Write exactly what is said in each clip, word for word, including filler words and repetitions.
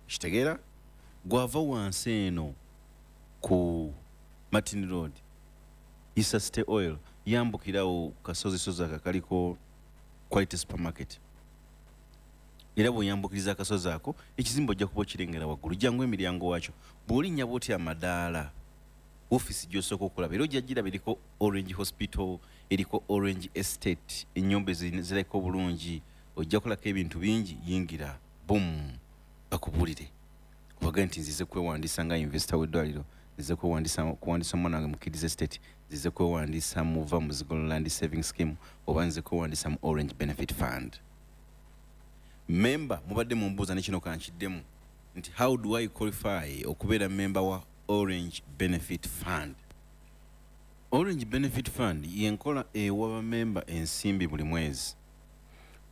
Kitegeera gwava wansi eno ku Martin Road, Isa City Oil, yambukirawo kasozi sozi ako kaliko Quality Supermarket. Era bw'oyambukiriza akasozi ako, ekizimbe ojja kuba okirengera waggulu. Jangu emiryango waakyo, bw'olinnya bwoti amadaala, ofiisi gy'osooka okulaba era ojja giraba, eriko Orange Hospital, eriko Orange Estate, ennyumba ezirabika obulungi. Ojja kulako ebintu bingi. Yingira bum, bakubuulire, obagambe nti nzize kwewandiisa nga investor w'eddwaliro, nzize kwewandiisa kuwandiisa omwana wange mu Kids Estate, nzize kwewandiisa mu Va Muzigo Land Saving Scheme, oba nzize kwewandiisa mu Orange Benefit Fund. Memba mubadde mumbuuza, ne kino kankiddemu nti, how do I qualify okubeera memba wa Orange Benefit Fund? Orange Benefit Fund yenkola ewa bamemba ensimbi buli mwezi.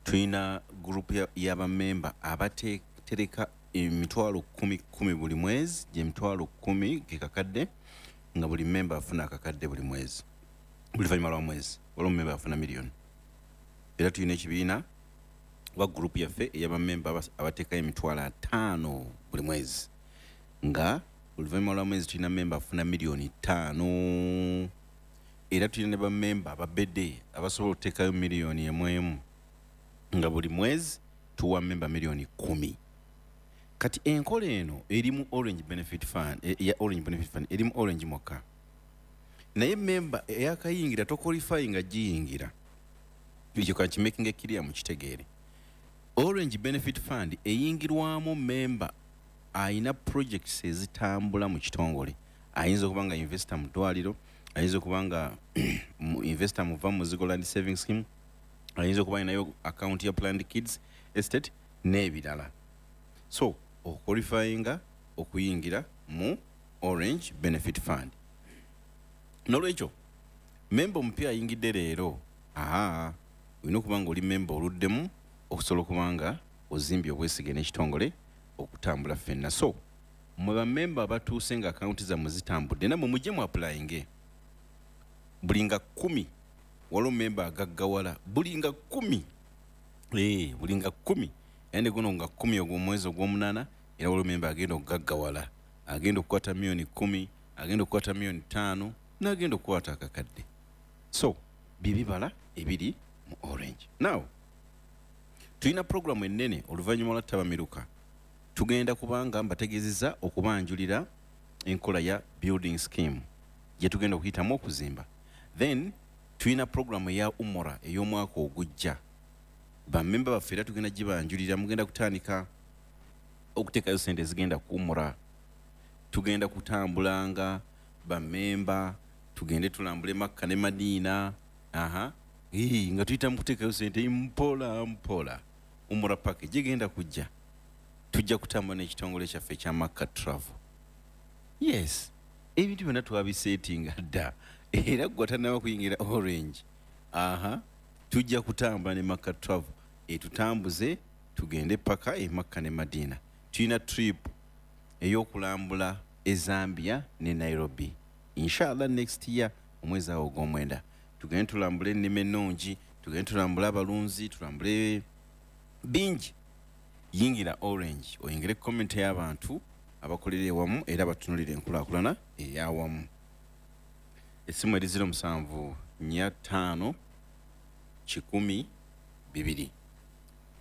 Tulina group y'abamemba abatereka emitwalo kumi kumi buli mwezi, gyemitwalo kumi ge kakadde, nga buli memba afuna akakadde buli mwezi, buli luvannyuma lwa mwezi. Waliwo memba afuna miliyoni. Era tulina ekibiina oba group yaffe ey'abamemba abateekayo emitwalo ataano buli mwezi, nga oluvannyuma lwa mwezi tulina memba afuna miliyoni ttaano. Era tulina ne bamemba ababedde abasobola okuteekayo miliyoni emu emu, nga buli mwezi tuwa memba miliyoni kumi. Kati enkola eno eri mu Orange Benefit Fund, e, ya Orange Benefit Fund eri mu Orange mwokka, naye memba eyakayingira toqualify nga giyingira. Ekyo kankimakinga clear, mukitegeere. Orange Benefit Fund eyingirwamu memba ayina projects ezitambula mu kitongole. Ayinza okuba nga investor mu ddwaliro, ayinza okuba nga investor mu Va Muzigo Land Saving Scheme, ayinza okuba ayinayo account ya Planned Kids Estate n'ebirala. So oqualifyinga okuyingira mu Orange Benefit Fund. Nolwekyo memba omupya ayingidde leero, aa olina okuba nga oli memba oluddemu okusobola okuba nga ozimbye obwesige n'ekitongole okutambula ffenna. So mwe bamemba abatuuse nga akawunti zammwe zitambudde, nammwe mujje mu applyinge. Buli nga kkumi waliwo memba agaggawala, buli nga kkumi, ee buli nga kkumi. Era ne guno nga kkumi ogw'omwezi ogw'omunaana, era waliwo memba agenda okugaggawala, agenda okukwata miliyoni kkumi, agenda okukwata miliyoni ttaano, n'agenda okukwata akakadde. So bibibala ebiri mu Orange. Now tulina programu ennene. Oluvannyuma lwa ttabamiruka tugenda kubanga mbategeezeza okubanjulira enkola ya building scheme gye tugenda okuyitamu okuzimba. Then tulina programu eya umura ey'omwaka ogujja. Bamemba baffe era tugenda gibanjulira. Mugenda kutandika okuteekayo sente ezigenda ku umura. Tugenda kutambulanga bamemba, tugende tulambule Makka ne Madiina, aha Ii, nga tuyita mu kuteekayo sente mpola mpola. Umura package egenda kujja, tujja kutambula n'ekitongole kyaffe ekya Makka Travel. Yes, ebintu byonna twabisetinga dda. Era gwe atanaba kuyingira Orange, aha, tujja kutambula ne Makka Travel etutambuze tugende paka e Makka ne Madiina. Tulina trip ey'okulambula e Zambia ne Nairobi, inshallah next year omwezi awo ogw'omwenda. Tugende tulambule ennima ennungi, tugende tulambule abalunzi, tulambule bingi. Yingira Orange, oyingire community y'abantu abakolera ewamu era batunulira enkulaakulana eyawamu. Essimu eri zero musanvu nnya ttaano kikumi bibiri,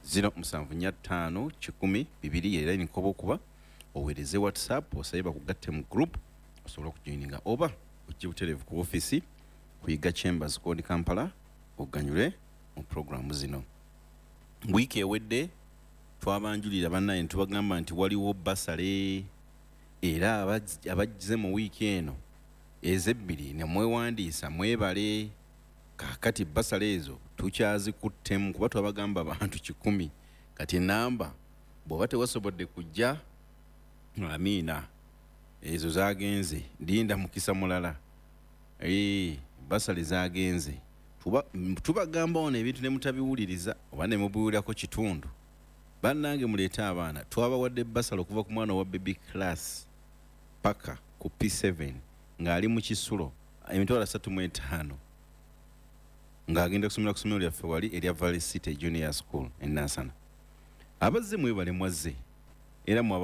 zero musanvu nnya ttaano kikumi bibiri. Era nkoba okuba oweereze WhatsApp osabe bakugatte mu group osobole okujoininga, oba ojje butereevu ku ofiisi kuyiga Chambers Code Kampala, oganyule mu programu zino. Wiiki ewedde twabanjulira bannaye ne tubagamba nti waliwo bursary, era abazze mu wiiki eno ezebbiri ne mwewandiisa, mwebale. Kaakati bursary ezo tukyazikuttemu kuba twabagamba abantu kikumi. Kati enamba bw'oba tewasobodde kujja, amiina, ezo zagenze, linda mukisa mulala. Bursary zagenze. Tubagamba wano ebintu ne mutabiwuliriza oba ne mubiwulirako kitundu. Bannange, muleete abaana. Twabawadde bursary okuva ku mwana owa baby class paka ku P seven ng'ali mu kisulo, emitwalo asatu mu etaano, ng'agenda kusomera ku ssomero lyaffe wali erya Valley City Junior School e Nansana. Abazze mwebale, mwazze era mwaba.